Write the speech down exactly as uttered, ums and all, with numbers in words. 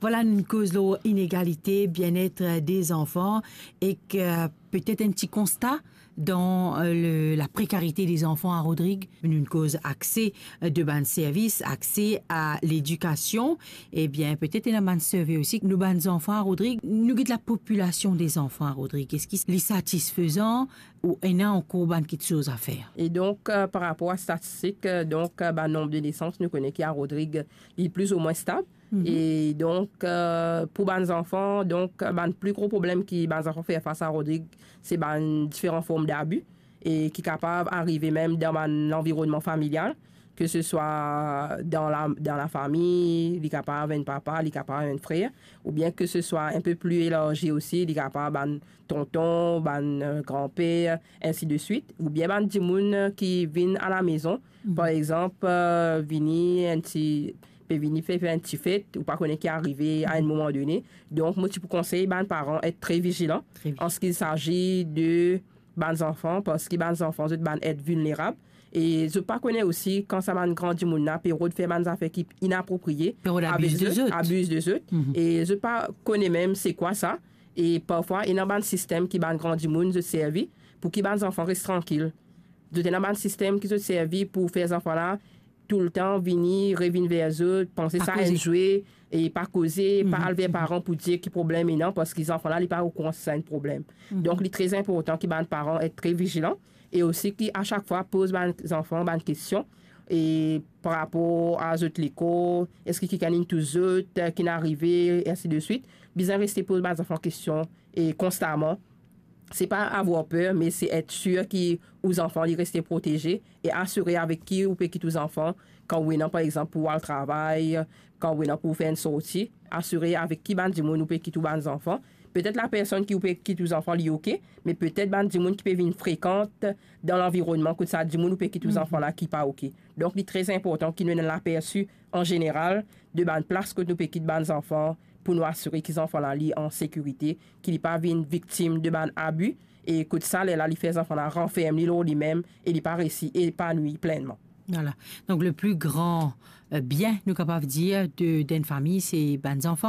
Vwala, nou koz lor inegalite, bienet de zanfan, ek, euh, petet enn ti konsta dan, euh, le, la prekarite de zanfan a Rodrig. Nou koz akse, euh, de bann servis, akse a ledikasion. Ebien, petet ena bann sirve osi. Nou bann zanfan a Rodrig, nou get lapopilasion de zanfan a Rodrig, eski li satisfezan ou ena ankor bann kiksoz a fer? E donk, euh, par rapor a statistik, euh, donk, euh, bann nonb de nesans, nou kone ki a Rodrig, li plizoumwin stab. Mhm. E donk, euh, pou bann zanfan, donk, bann pli gro problem ki bann zanfan fer fas a Rodrig, se bann diferan form dabi e ki kapav arive mem dan bann lanvironnman familial, ke se swa dan la, dan lafami, li kapav enn papa, li kapav enn frer, oubien ke se swa enn pe pli elarzi osi, li kapav bann tonton, bann, euh, granper, ensi de swit, oubien bann dimoun, euh, ki vinn a lamezon, mhm, par exanp, euh, vini enn ti, pe vini fer, fer enn ti fet, ou pa kone ki arive a enn moman done. Donk, mo ti pou konsey bann paran et tre vizilan, tre vizilan, an se ki sazi de bann zanfan, parski bann zanfan, zot bann et vilnerab. E zot pa kone osi, kan sa bann gran dimoun la pe rod fer bann zafer ki inapropriye, pe rod abiz de zot, abiz de zot. Mhm. E zot pa kone mem se kwa sa. E parfwa, ena bann sistem ki bann gran dimoun zot servi pou ki bann zanfan res trankil. Zot ena bann sistem ki zot servi pou fer zanfan la toultan vini, revinn ver zot, panse sa enn zwe, e pa koze, pa al ver paran pou dir ki problem ena, parski zanfan la, li pa okouran si sa enn problem. Mhm. Donk, li tre inportan ki bann paran et tre vizilan, e osi ki a sak fwa poz bann zanfan bann kestion, e par rapor a zot lekol, eski kikenn inn tous zot, ki inn arive, ensi de swit. Bizin reste poz bann zanfan kestion, e konstaman. Se pa avoir per, me se et sir ki ou zanfan li reste proteze e asire avek ki ou pe kit ou zanfan, kan ou ena, par exanp, pou al travay, kan ou ena pou fer enn sorti, asire avek ki bann dimoun ou pe kit ou bann zanfan. Petet la personn ki ou pe kit ou zanfan li oke, me petet bann dimoun ki pe vinn frekant dan lanvironnman kot sa dimoun ou pe kit ou zanfan la ki pa oke. Donk, li tre inportan ki nou ena lapersi an zeneral de bann plas kot nou pe kit bann zanfan, pou nou asire ki zanfan la li an sekirite, ki li pa vinn viktim de bann abi, e kot sa, lerla li fer zanfan la ranferm li lor limem e li pa resi epanwi plennman. Vwala. Donk, le pli gran, euh, bien, nou kapav dir, de, d'enn fami, se bann zanfan.